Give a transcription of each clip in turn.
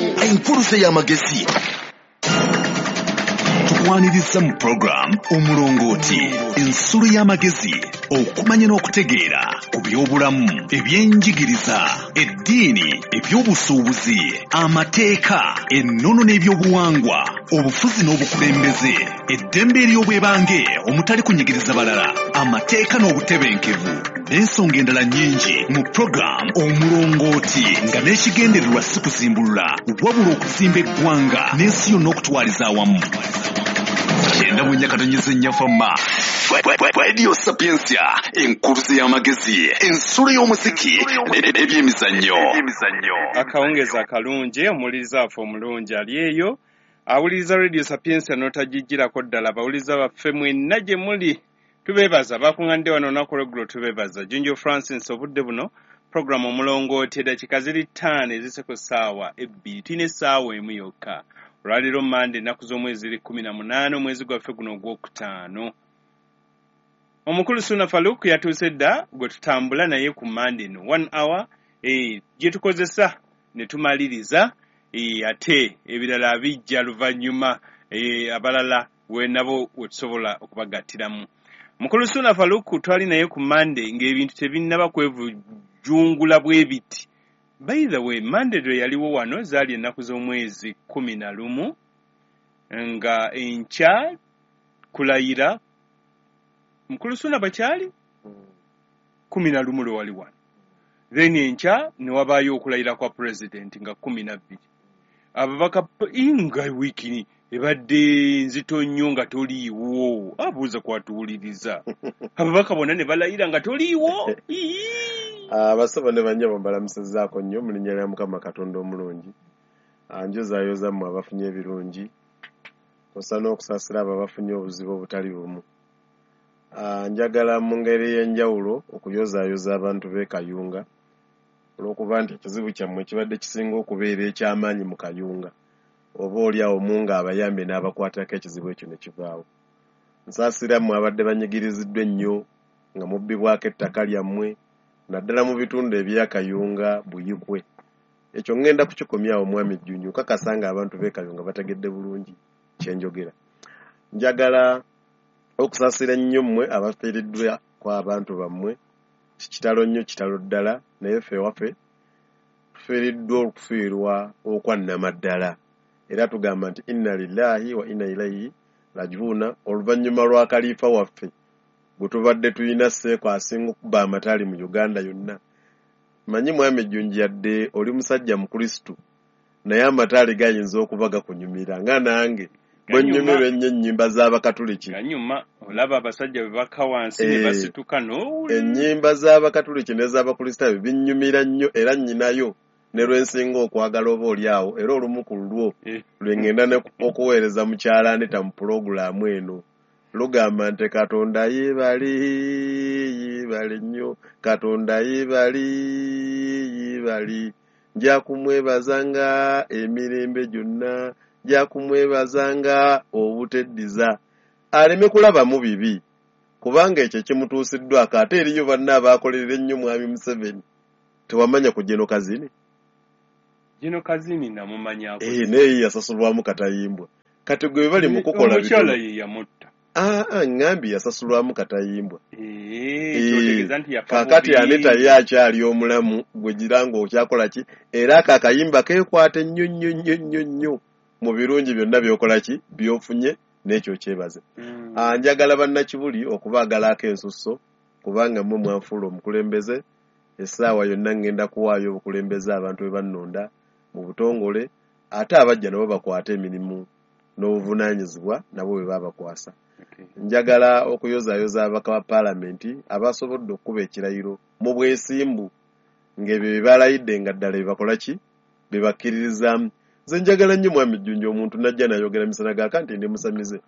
Enkuluze y'amagezi. Tukwaniriza mu program Omulongooti, ensulo y'amagezi, okumanya n'okutegeera ku by'obulamu, ebyenjigiriza, eddiini, ebyobusuubuzi, amateeka, ennono n'ebyobuwangwa, obufuzi n'obukulembeze, eddembe ery'obwebange omutali kunyigiriza balala, amateeka n'obutebenkevu, n'ensonga endala nnyingi mu program Omulongooti, nga n'ekigendererwa si kuzimbulula wabula okuzimba eggwanga n'ensi yonna okutwaliza awamu. 94.4 Fama Radio Sapientia, enkuluze y'amagezi, ensulo y'omuziki n'ebyemizannyo. Akawungezi akalungi, omuwuliriza waffe omulungi ali eyo awuliriza Radio Sapientia n'otagijjirako ddala. Abawuliriza baffe mwenna gye muli tubeebaza, bakuŋŋaanidde wano olunaku olw'eggulo, tubeebaza. Junjo Francis, obudde buno programu Omulongooti, eddakiika ziri 5 ezise ku ssaawa 2, tulina essaawa 1 yokka. Olwaleero Mmande, ennaku z'omwezi ziri 18, omwezi gwaffe guno ogwokutaano. Omukulu Ssuuna Farouk yatuuse dda, gwe tutambula naye ku Mmande eno 1 hour gye tukozesa ne tumaliriza, ate ebirala bijja luvannyuma, abalala we nabo we tusobola okubagattiramu. Mukulu Ssuuna Farouk twali naye ku Mmande ng'ebintu tebinnaba kwevujungula bwe biti. By the way, Mmande lwe yaliwo wano zaali ennaku z'omwezi 11, nga enkya kulayira. Mukulu Ssuuna bwe kyali 11 lwe wali wano, then enkya ne wabaayo okulayira kwa pulezidenti nga 12. Ababaka nga wiiki ebadde nzito nnyo nga toliiwo, abuuza kwatuwuliriza, ababaka bonna ne balayira nga toliiwo. Abasabo ne bannyabo, mbalamusizzaako nnyo mu linnya lya Mukama Katonda omulungi. Njozaayoza mmwe abafunye ebirungi, kw'ossa n'okusaasira abo abafunye obuzibu obutali bumu. Njagala mu ngeri ey'enjawulo okuyozaayoza abantu b'e Kayunga olw'okuba nti ekizibu kyammwe kibadde kisinga okubeera eky'amaanyi mu Kayunga, oba oli awo Mungu abayambye n'abakwatako ekizibu ekyo ne kivaawo. Nsaasira mmwe abadde banyigiriziddwa ennyo nga mubbibwako ettaka lyammwe, naddala mu bitundu ebya Kayunga, Buyikwe. Ekyo ŋŋenda kukikomyawo, Mwami Jjunju, nkakasa nga abantu b'e Kayunga bategedde bulungi kye njogera. Njagala okusaasira ennyo mmwe abafiiriddwa ku abantu bammwe. Kitalo nnyo, kitalo ddala, naye ffe ewaffe tufiiriddwa okufiirwa okwa nnamaddala, era tugamba nti inna lillahi wa inna ilaihi rajiuna, oluvannyuma lwa kaliifa waffe gwe tubadde tulina, Seeko asinga okuba amataali mu Uganda yonna. Manyi Mwami Jjunju, yadde oli musajja Mukristu, naye amataali gayinza okuba gakunyumira nga nange bwe nnyumirwa ennyo ennyimba z'Abakatuliki. Ganyuma, olaba abasajja bwe bakka wansi ne basituka n'owulira. Ennyimba z'Abakatuliki n'ez'Abakristaayo binnyumira nnyo, era nnyinayo ne lwe nsinga okwagala oba oli awo, era olumu ku lulwo lwe ŋŋenda okuweereza mukyala Anita mu pulogulaamu eno. Lugamba nti Katonda yeebale, yeebale nnyo, Katonda yeebale, yeebale, nja kumwebazanga emirembe gyonna, nja kumwebazanga obuteddiza. Aleme kulabamu bibi, kubanga ekyo ekimutuusiddwako. Ate eriyo banne abaakolerera ennyo Mwami Museveni. Tewamanya ku Geno Kazini? Geno Kazini namumanyako. Naye yasasulwamu katayimbwa. Kati gwe bali mu kukola Omukyala ye yamutta. Aa, ŋŋambye yasasulwamu katayimbwa. Kyotegeeza nti yafa Kaakati bubi. Anita ye akyali omulamu, gwe gira ng'okyakola ki? Era ako akayimba keekwata ennyo nnyo nnyo nnyo nnyo mu birungi byonna by'okola ki, by'ofunye, n'ekyo kyebaze. Njagala bannakibuli okubaagalako ensusso, kubanga mmwe mwanfuula omukulembeze. Essaawa yonna ŋŋenda kuwaayo obukulembeze abantu bwe bannonda mu butongole, ate abajja nabo bakwate emirimu n'obuvunaanyizibwa nabo bwe babakwasa. Njagala okuyozaayoza ababaka ba paalamenti abasobodde okukuba ekirayiro mu bwesimbu, ng'ebyo bye balayidde nga ddala bye bakola ki, bye bakkiririzaamu. Nze njagala nnyo, Mwami Jjunju, omuntu najja n'ayogera misana gaaka nti ndi musamize,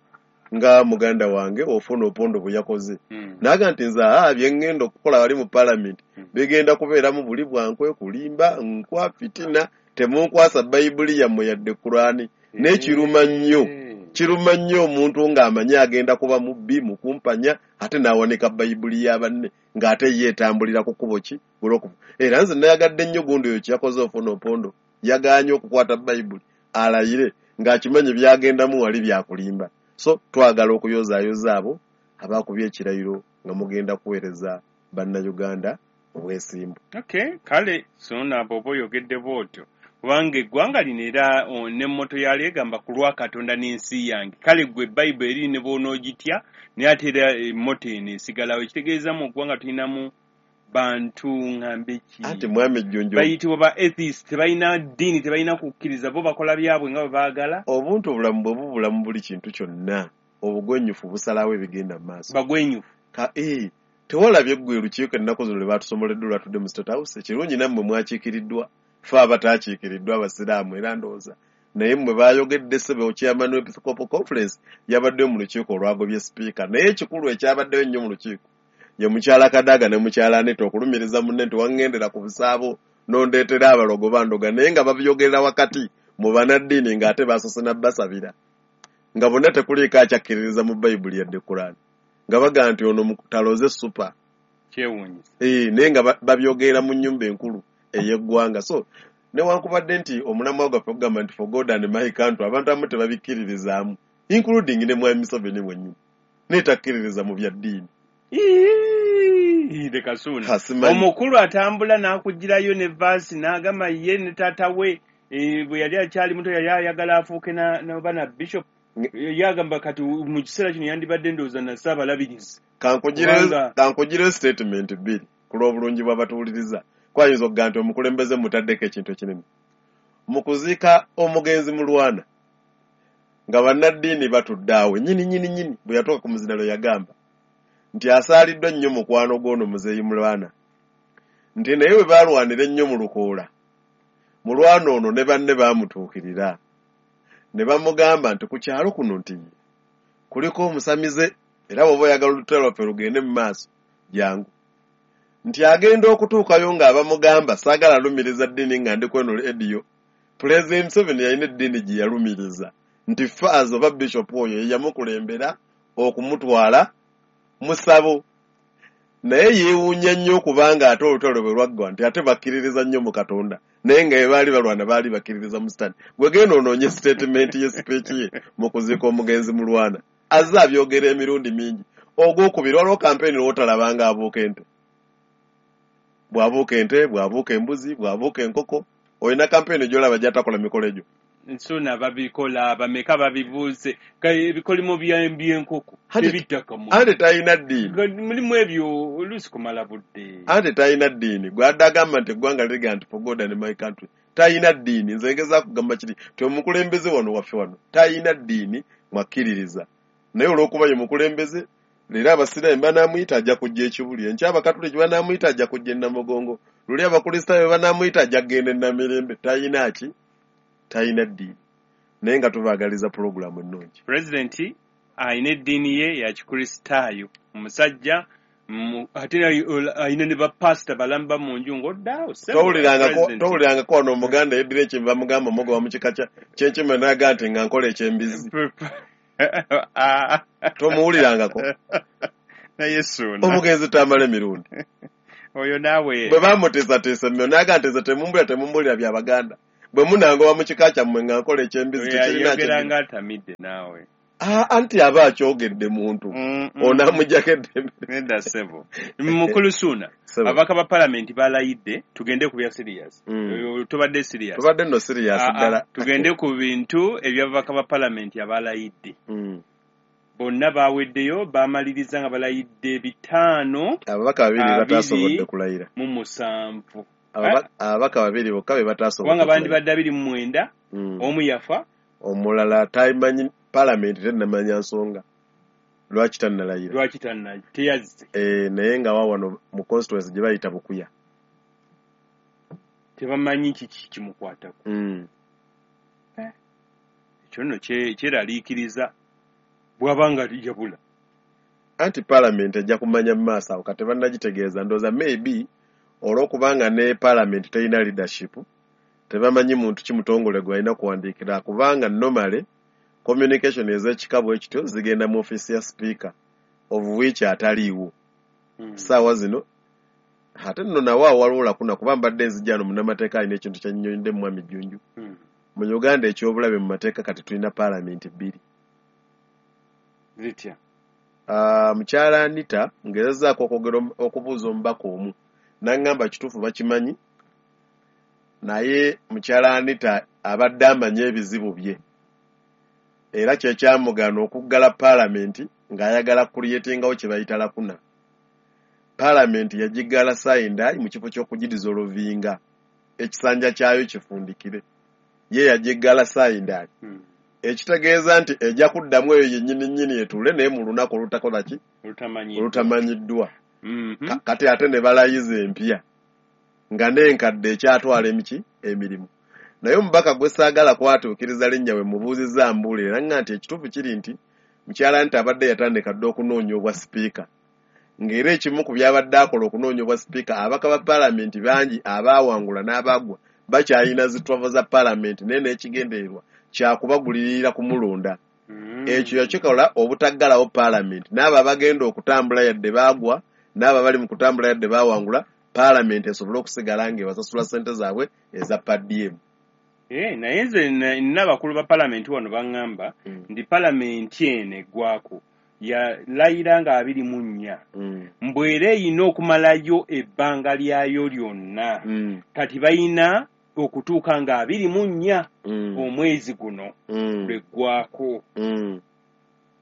nga muganda wange Ofwono Opondo bwe yakoze, n'agamba nti nze bye ŋŋenda okukola wali mu paalamenti bigenda kubeeramu buli bwankwe, kulimba, nkwa, fitina, temunkwasa Bayibuli yammwe yadde Kuraani. Naye kiruma nnyo, kiruma nnyo omuntu ng'amanyi agenda kuba mubbi, mukumpanya, ate n'awanika Bayibuli ya banne ng'ate ye etambulira ku kkubo ki, golokofu. Era nze nayagadde nnyo gundi oyo kyeyakoze, Ofwono Opondo. Yagaanye okukwata Bayibuli alayire ng'akimanyi by'agendamu wali byakulimba. So twagala okuyozaayoza abo abakubye ekirayiro nga mugenda kuweereza Bannayuganda mu bwesimbu. Okay, kale sona bw'oba oyogedde bw'otyo, kubanga eggwanga lino era ne motto yalyo egamba ku lwa Katonda n'ensi yange. Kale ggwe Bayibuli eri ne bw'onoogitya, naye ate era motto eno esigalawo. Ekitegeeza mu ggwanga tulinamu bantu ŋŋambe ki? Anti Mwami Jjunju, bayitibwa ba atheist, tebalina ddiini, tebalina kukkiriza, bo bakola byabwe nga bwe baagala. Obuntu obulamu bwe bubula mu buli kintu kyonna, obugwenyufu busalawo ebigenda mu maaso. Bagwenyufu. Tewalabye ggwe olukiiko ennaku zino lwe baatusomoledde olwatudde mu State House? Ekirungi nammwe mwakiikiriddwa, ffe abataakiikiriddwa Abasiraamu era ndowooza. Naye mmwe baayogedde, ssebo chairman w'Episcopal Conference yabaddeyo mu lukiiko olwagobye sipiika. Naye ekikulu ekyabaddeyo ennyo mu lukiiko ye mukyala Kadaga ne mukyala Anita okulumiriza munne nti waŋŋendera ku busaabo n'ondeetera abalogo bandoga, naye nga babyogerera wakati mu bannaddiini ng'ate basoose na basabira nga bonna tekuliiko akyakkiririza mu Bayibuli yadde Kuraani, nga bagamba nti ono taloze super. Kyewuunyisa. Naye nga babyogerera mu nnyumba enkulu ey'eggwanga. So newankubadde nti omulamwa gwaffe ogugamba nti for God and my country, abantu abamu tebabikkiririzaamu, including ne Mwami Museveni mwennyini, naye takkiririza mu bya ddiini. Leka Suuna. Omukulu atambula n'akugirayo ne vaasi n'agamba ye ne taata we bwe yali akyali muto yali ayagala afuuke n'oba na bishop. Yagamba kati mu kiseera kino yandibadde ndowooza na ssaabalabirizi. Kankugireyo statement bbiri ku lw'obulungi bw'abatuwuliriza. Kwayinza okugamba nti omukulembeze mutaddeko ekintu ekinene. Mu kuziika omugenzi Mulwana nga bannaddiini batudde awo nnyini nnyini nnyini, bwe yatuuka ku muzinalo yagamba nti asaaliddwa nnyo mukwano gw'ono Muzeeyi Mulwana, nti naye bwe baalwanira ennyo mu lukoola, Mulwana ono ne banne baamutuukirira ne bamugamba nti ku kyalo kuno nti kuliko omusamize, era bw'oba oyagala olutalo lwaffe lugende mu maaso jangu. Nti agenda okutuukayo ng'abamugamba saagala lumiriza ddiini nga ndi kweno ediyo. Pulezidenti Museveni yalina eddiini gye yalumiriza nti Faaza oba Bishop oyo ye yamukulembera okumutwala musabo, naye yeewuunya nnyo okubanga ate olutalo bwe lwaggwa nti ate bakkiririza nnyo mu Katonda, naye nga bwe baali balwana baali bakkiririza mu Sitaani. Gwe genda onoonye statement ye speech ye mu kuziika omugenzi Mulwana, azze abyogera emirundi mingi. Ogwokubiri, waliwo kampeyini lw'otalabanga abuuka ente, bw'abuuka ente, bw'abuuka embuzi, bw'abuuka enkoko. Olina kampeyini gy'olaba gy'atakola mikolo egyo? Nsuna babikola, bameka babibuuse ebikolimo by'enkoko tebittakamu. Ante talina ddiini. Mulimu ebyo oluusi kumala budde. Ante talina ddiini. Gwe adde agamba nti eggwanga liga nti for God and my country. Talina ddiini. Nze ngezaako kugamba kiri nti omukulembeze wano waffe wano talina ddiini mwakkiririza. Naye olw'okuba ye mukulembeze, leero Abasiraamu banaamuyita ajja kujja ekibuli, enkya Abakatuliki banaamuyita ajja kujja e Namugongo, luli Abakristaayo banaamuyita ajja kugenda e Namirembe. Talina ki? Talina ddiini. Naye nga tubaagaliza pulogulaamu ennungi. Pulezidenti alina eddiini ye ya Kikristaayo. Omusajja ate alina ne bapasita balamba mu nju ng'oddaawo. Towulirangako wano Omuganda yeddira ekyembi bamugamba omugoba mu kika ky'enkima n'agaa nti nga nkola ekyembizi. Tomuwulirangako. Naye Suuna. Omugenzi tamala emirundi. Oyo naawe. Bwe bamuteesateesa emmyo n'agaa nti nze temumbulira bya Baganda. Bwe munangoba mu kika kyammwe nga nkola ekyembizi tekirina Yayogera nga atamidde naawe. Anti aba akyogedde muntu. Onamuggyako eddembe. Nedda ssebo. Mukulu Suuna, ababaka ba palamenti balayidde, tugende ku bya serious. Tubadde serious. Tubadde nno serious ddala. Tugende ku bintu eby'ababaka ba palamenti abalayidde. Bonna baaweddeyo, baamaliriza nga balayidde 5. Ababaka babiri bataasobodde kulayira. Mu 7. Ababaka babiri bokka be bataasobodde. Kubanga bandibadde 29, omu yafa. Omulala tamanyi palamenti tennamanya nsonga lwaki tannalayira. Lwaki teyazze. Naye nga wano mu constituency gye bayita Bukuya. Tebamanyi kiki kimukwatako. Ekyo nno kyeraliikiriza bw'aba nga yabula. Anti palamenti ejja kumanya mu maaso awo kati bannagitegeeza ndowooza maybe olw'okubanga ne palamenti terina leadership tebamanyi muntu ki mutongole gwe balina kuwandiikira, kubanga normally communication ez'ekika bwe kityo zigenda mu ofiisi ya speaker of which ataliiwo. Ssaawa zino Ate nno nawe awo waliwo lacuna, kuba mbadde nzijja no munnamateeka alina ekintu kyannyonnyodde mu Mwami Jjunju. Mu Uganda ekyobulabe mu mateeka, kati tulina paalamenti bbiri. Zitya? Mukyala Anita, ngezezaako okwogera okubuuza omubaka omu, naŋŋamba kituufu bakimanyi, naye mukyala Anita abadde amanyi ebizibu bye, era kyekyamugaana okuggala paalamenti ng'ayagala creatingawo kye bayita lacuna. Paalamenti yagiggala sine die mu kifo ky'okugidissolvinga ekisanja kyayo kifundikire, ye yagiggala sine die, ekitegeeza nti ejja kuddamu eyo yennyini nnyini etuule, naye mu lunaku olutakola ki? Olutamanyiddwa. Olutamanyiddwa. Kati ate ne balayiza empya nga n'enkadde ekyatwala emiki emirimu. Naye omubaka gwe saagala kwatuukiriza linnya, we mubuuzizza mbuulire, era nga nti ekituufu kiri nti mukyala nti abadde yatandika dda okunoonya obwa sipiika, ng'era ekimu ku byabadde akola okunoonya obwa sipiika, ababaka ba paalamenti bangi abaawangula n'abaagwa bakyalina zi travel za paalamenti, naye n'ekigendererwa kyakubagulirira kumulonda. Ekyo yakikola obutaggalawo paalamenti, n'abo abagenda okutambula yadde baagwa, n'abo abali mu kutambula yadde baawangula, paalamenti esobole okusigala ng'ebasasula ssente zaabwe eza per diem. Eh, naye nze nina abakulu ba palamenti wano baŋŋamba nti palamenti eno eggwako yalayira nga 24, mbw era eyina okumalayo ebbanga lyayo lyonna. Kati bayina okutuuka nga 24 omwezi guno lweggwako.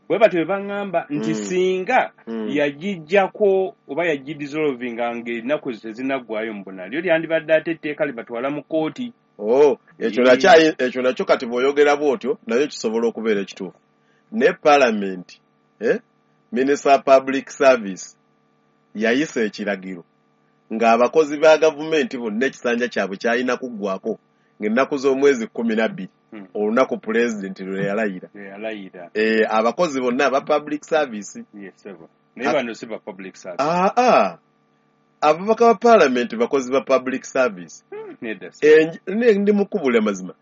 Bwe batyo bwe baŋŋamba nti singa yagijjako oba yagidissolvinga ng'ennaku ezo tezinaggwayo, mbu nalyo lyandibadde ate etteeka libatwala mu kkooti. Oh, ekyo nakyo, ekyo nakyo kati bw'oyogera bw'otyo nayo kisobola okubeera ekituufu, naye paalamenti, minister wa public service yayisa ekiragiro ng'abakozi ba gavumenti bonna ekisanja kyabwe kyalina kuggwako ng'ennaku z'omwezi 12, olunaku pulezidenti lwe yalayira. Lwe yalayira. Abakozi bonna aba public service. Yes, sebo. Naye bano si ba public service. Aa, ababaka ba paalamenti bakozi ba public service. Nedda si. Ndi mukubula mazima,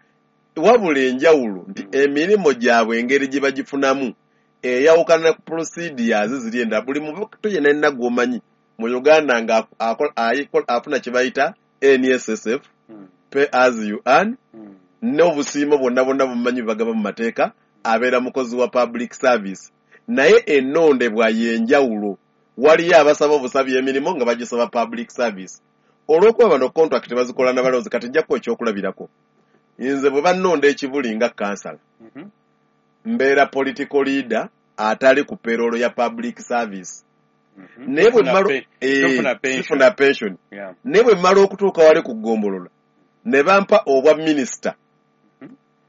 wabula enjawulo nti emirimu gyabwe engeri gye bagifunamu eyawukana ku procedures ziri endala. Buli muntu yenna yenna gw'omanyi mu Uganda nga afuna kye bayita NSSF, pay as you earn, n'obusiimo bwonna bwonna bumanyi bwe bagaba mu mateeka, abeera mukozi wa public service, naye ennondebwa y'enjawulo. Waliyo abasaba obusabi emirimu nga bagisaba public service, olw'okuba bano contract bazikola n'abalonzi. Kati nja kuwa ekyokulabirako. Nze bwe bannonda ekibuli nga kansala, mbeera political leader atali ku payroll ya public service. Naye bwe Tofuna mmala tofuna pension. Sifuna pension. Naye bwe mmala okutuuka wali ku ggombolola ne bampa obwa minisita,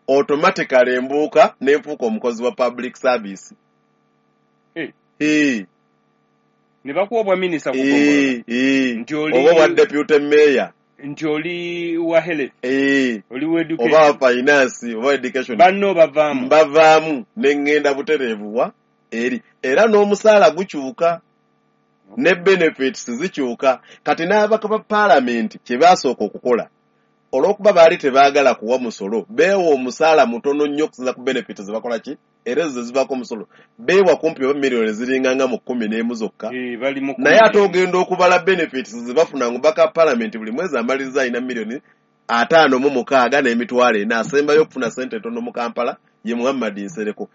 automatically mbuuka ne nfuuka omukozi wa public service. Ne bakuwa obwa minisita ku ggombolola. Nti Oba obwa deputy mayor. Nti oli wa health, oli wa oba education, wa finance oba education. Banno bavaamu. Mbavaamu ne ŋŋenda butereevu wa eri, era n'omusaala gukyuka ne benefits zikyuka. Kati n'ababaka ba paalamenti kye baasooka okukola, olw'okuba baali tebaagala kuwa musolo, beewa omusaala mutono nnyo okusinza ku benefits ze bakola ki, era ezo ze zivaako omusolo. Beewa kumpi oba miliyoni ziringanga mu 11 zokka. Eh, bali mu Naye ate ogenda okubala benefits ze bafuna nga omubaka wa paalamenti buli mwezi amaliriza alina miliyoni 56,400. Asembayo okufuna sente entono mu Kampala ye Muhammad Nsereko.